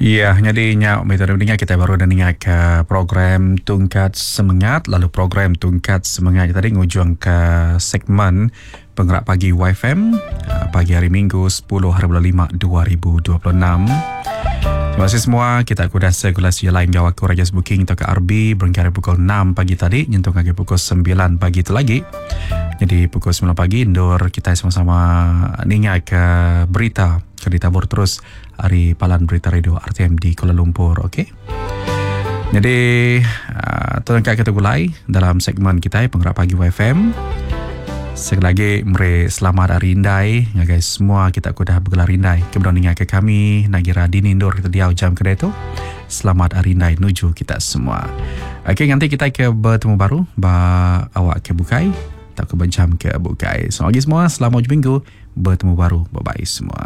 Iya, nyadi nya meh tadi ninga kitai baru udah ninga ke program Tungkat Semengat lalu program Tungkat Semengat tadi ngujung ke segmen Pengerak Pagi YFM ah, pagi hari Minggu 10 hari bulan 5 2026. Terima kasih semua kita aku dah segulasi lain enggau aku Rajas Booking atau ke RB berengkah hari pukul 6 pagi tadi nyentuk ngagai pukul 9 pagi tu lagi. Jadi pukul 9 pagi endur kita sama-sama ninga ke berita ke ditabur terus ari palan berita radio RTM di Kuala Lumpur, okey. Jadi uh, tu angkat kita gulai dalam segmen kita Penggerak Pagi YFM. Sekali lagi meri selamat hari indai ngagai semua kita ke udah begelar indai ke benung ninga ke kami nagira dini endur kita diau jam kedai tu. Selamat hari indai nuju kita semua. Okey nganti kita ke bertemu baru ba awak ke bukai tauka ba jam ke bukai. Selamat pagi semua, selamat ujung minggu. Betemu baru. Bye bye semua.